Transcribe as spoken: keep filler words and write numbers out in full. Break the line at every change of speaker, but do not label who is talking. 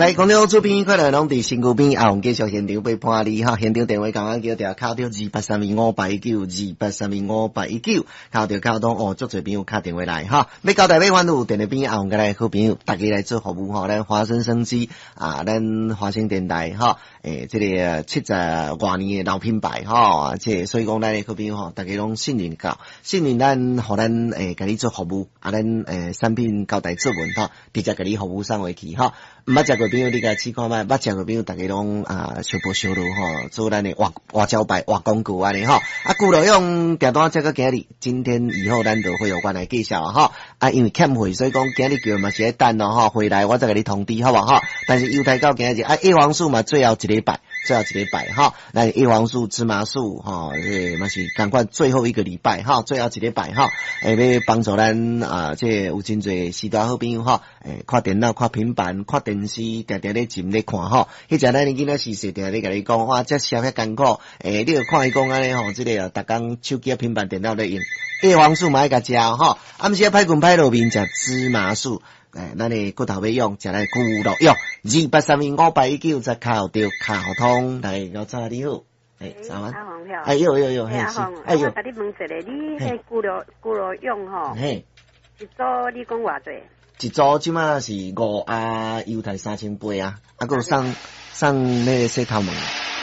來，講到厝邊快樂攏佇身軀邊，阿紅繼續現場陪伴你哈。現場電話共阮叫著敲著二八三二五八一九，二八三二五八一九，敲著敲通哦，足濟朋友敲電話來哈。欲交代欲煩惱，電話邊阿紅佮咱好朋友，大家來做服務吼。咱華生生機啊，咱華星電台哈，欸，這个七十外年的老品牌吼，這所以講咱的好朋友吼，大家攏信任到，信任咱，予咱欸，共你做服務，啊，咱欸產品交代做文吼，直接共你服務送回去吼。毋捌食過朋友，你共試看覓；捌食過朋友，大家攏啊相報相助吼，做咱的活活招牌、活廣告按呢吼。啊，牛肉勇訂單這個今日，今天以後咱就會有關來介紹吼。啊，因為欠貨，所以講今日叫嘛是愛等咯吼，回來我再共你通知好無吼。但是猶太到今日啊，葉黃素嘛最後一禮拜，最後一禮拜吼，咱葉黃素、芝麻素吼，這嘛是仝款最後一個禮拜吼，最後一禮拜吼，會欲幫助咱啊，這有真濟序大好朋友吼，欸，看電腦、看平板、看電視，定定咧沉咧看吼。彼陣咱囡仔時勢，定定咧共你講，哇，這社遐艱苦，欸，你著看伊講按呢吼，這个逐工手機、平板電腦咧用，葉黃素嘛愛共食吼，暗時仔歹睏歹落眠，食芝麻素。欸，咱的骨頭欲勇，食咱牛肉勇，二八三二五八一九，再敲著敲通來，老早你好，欸，早安，
阿紅
哎喲喲喲，
嘿阿紅，
哎喲，
我共你問一下，你彼牛肉牛肉勇吼，
嘿，
一組你講偌濟？
一組這馬是五盒猶太三千八啊，啊，閣有送送那個洗頭毛。